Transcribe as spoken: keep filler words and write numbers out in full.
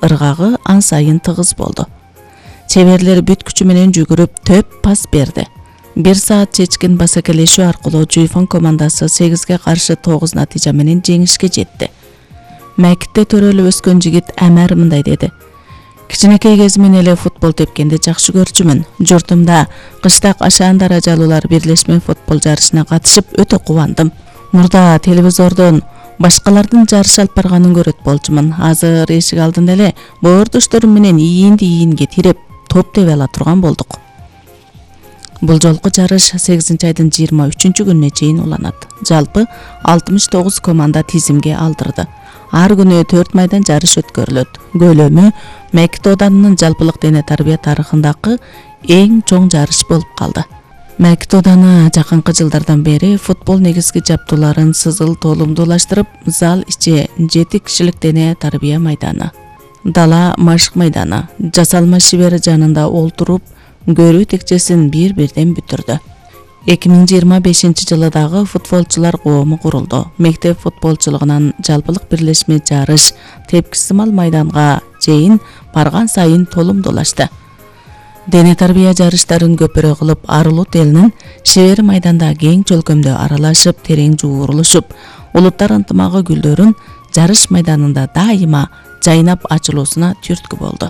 ыргагы ан сайын тыгыз болду. Чеберлер бүт күчү менен жүгүрүп төп пас берди. бир саат чечкен басакелешүү аркылуу Жуйфон командасы сегизге каршы тогуз натыйжа менен жеңишке жетти. Мектепте төрөлүп өскөн жигит Амар мындай деди: Кичинекей кезимен эле футбол тепкенди жакшы көрчүмүн. Журтумда кыштак ашаан даражалуулар бирлешме футбол жарышына катышып өтө кубандым. Мурда телевизордон башкалардын жарыш алып барганын көрөт болчумун. Азыр эшик алдында эле боордошторум менен ийинди ийинге тиреп топ тебе ала турган болдук. Бул жолку жарыш сегизинчи айдын жыйырма үчүнчү күнүнө чейин уланат. Жалпы алтымыш тогуз команда тизимге алдырды. Ар күнү төрт майдан жарыш өткөрүлөт. Көлөмү Мекит оданынын жалпылык дене тарбия тарыхындагы эң чоң жарыш болуп калды. Мекит оданы жакынкы жылдардан бери футбол негизги жабдууларын сызыл толумдуулаштырып, зал ичи жети кишилик дене тарбия майданы, дала машык майданы, жасалма шибер жанында олтуруп, көрүү текчесин бир-бирден бүтүрдү. эки миң жыйырма бешинчи жылы дагы футболчулар коому курулду. Мектеп футболчулугунан жалпылык бирлешме жарыш тепкисимал майданга чейин барган сайын толумдуулашты. Дене тарбия жарыштарын көпүрө кылып, Арулут элинин шебер майданда кең чөлкөмдө аралашып, терең жуурулушуп, улуттар ынтымагы гүлдөрүн жарыш майданында дайыма жайнап ачылуусуна түрткү болду.